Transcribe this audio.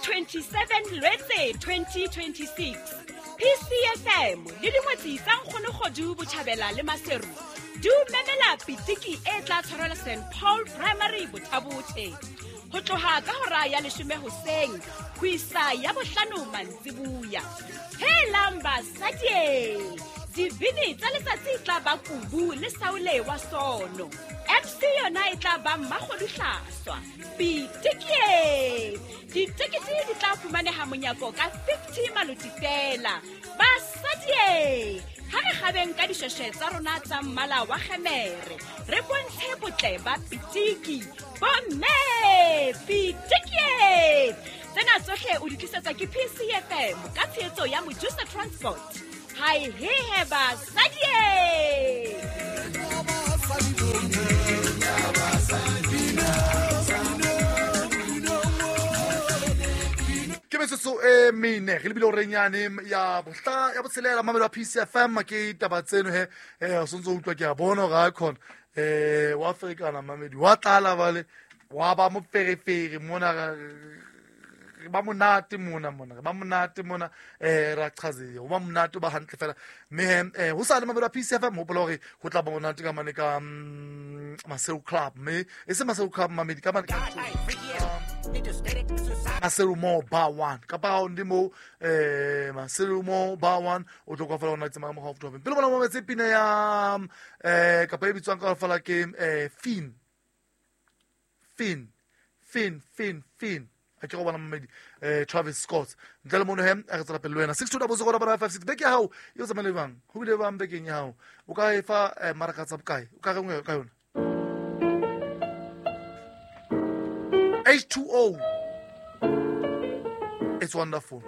27 Lwetse 2026. PCFM le dingwetsi tsa Nkgonokgodu Botjhabela le Maseru di o memela pitiki e tla tshwarelwa St Paul Primary Bothabothe ho tloha ka hora ya leshome hoseng ho isa ya bohlano mantsibuya. Helang basadi! Dibini tsa letsatsi e tla ba Kubu le Saule wa Sono. MC yona e tla ba Mmakgoduhlaswa. Pitikie! Ditekete di tla fumaneha monyako ka 50 maloti feela. Basadie! Ha re kgabeng ka dishweshwe tsa rona tsa mmala wa kgemere, re bontshe botle ba pitiki. Bomme! Pitikie! Tsena tsohle o di tlisetswa ke PCFM ka tshehetso ya Mojusa Transport. Hai hehe basadie! Ke metsotso e mene re lebile orenyane ya bohla ya botshelela mamelo wa PCFM ke taba tseno he o sentse o utlwa ke a bona gore a khona wa ferekana mamedi wa tlala bale wa ba moferefere mona re ba monate mona mona re ba monate mona ra chazeya o ba monate o ba hantle fela mme ho sa le mamelo a PCFM hopola hore ho tla ba monate ka mane ka Maseru Club mme e se Maseru Club mamedi ka mane ka Maseru Mo Bar 1 kapa ha o ndi mo Maseru Mo Bar 1 o tlo kwa fela ona tsamaya mo gaufi pele bona mametse pina ya kapa e bitswang ka fela ke Finn Finn Finn Finn Finn a ke go bona mmedi Travis Scott ntle le mono he a re tsela pele le wena 62 double 0 double 56 beke ya hao e o tsamaile bang ho bile bang bekeng ya hao o ka e fa maraka tsa bokae o ka reng ka yona H2O. It's wonderful.